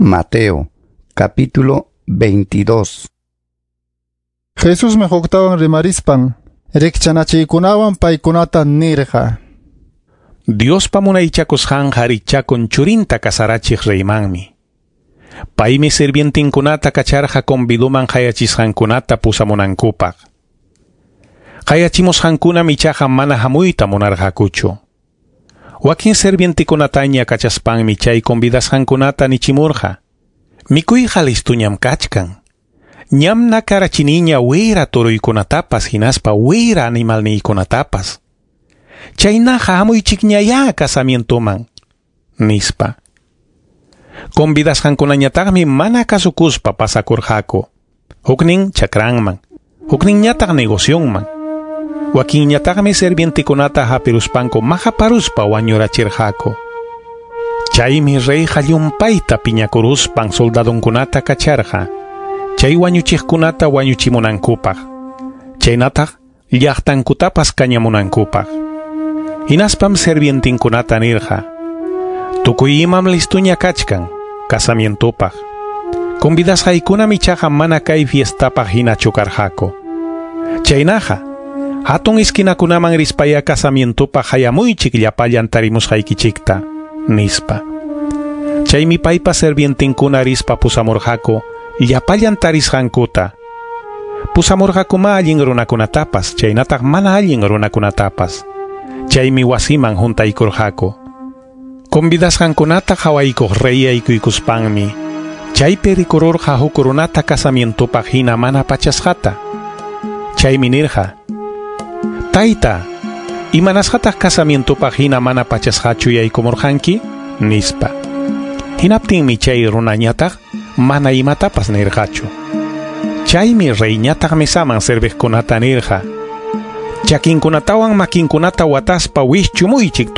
Mateo, capítulo 22. Jesusmi huktawan rimarispan rikchanachiykunawan paykunata nirqa. Diospa munaychakusqanqa richakun churinta kasarachiq reymanmi. Paymi sirvientinkunata kacharqa conviduman qayachisqankunata pusamunankupaq. Qayachimusqankunam ichaqa mana hamuyta munarqakuchu. Wakin sirvientikunataña kachaspanmi chay convidasqankunata nichimurqa. Mikuyqa listuñam kachkan. Ñam nakarachiniña wira turuykunatapas hinaspa wira animalniykunatapas. Chaynaqa hamuychikñayá casamientoman, nispa. Convidasqankunañataqmi mana kasukuspa pasakurqaku. Huknin chakranman, hukninñataq negocionman. Wakinñataqmi sirvientikunata hapiruspanku maqaparuspa wañurachirqaku. Chaymi reyqa llumpayta piñakuruspan soldadonkunata kacharqa, chay wañuchiqkunata wañuchimunankupaq, chaynataq llaqtankutapas kañamunankupaq. Hinaspam sirvientinkunata nirqa: Tukuy imam listuña kachkan casamientopaq. Convidasqaykunam ichaqa mana kay fiestapaq hinachu karqaku. Chaynaqa, hatun esquinakunaman rispaya casamientopaq hayamuychik llapallan tarimusqaykichikta, nispa. Chaymi paypa sirvientinkuna rispa pusamurqaku llapallan tarisqankuta. Pusamurqakuma allin runakunatapas, chaynataq mana allin runakunatapas. Chaymi wasiman huntaykurqaku. Convidasqankunata qhawaykuq rey yaykuykuspanmi, chaypi rikururqa huk runata casamientopaq hina mana pachasqata. Chaymi nirqa: Tayta, imanasqataq casamientopaq hina mana pachasqachu yaykumurqanki? Nispa. Hinaptinmi chay runañataq mana imatapas nirqachu. Chaymi reyñataq mesaman serviqkunata nirqa: Chakinkunatawan makinkunata wataspa wischumuychik.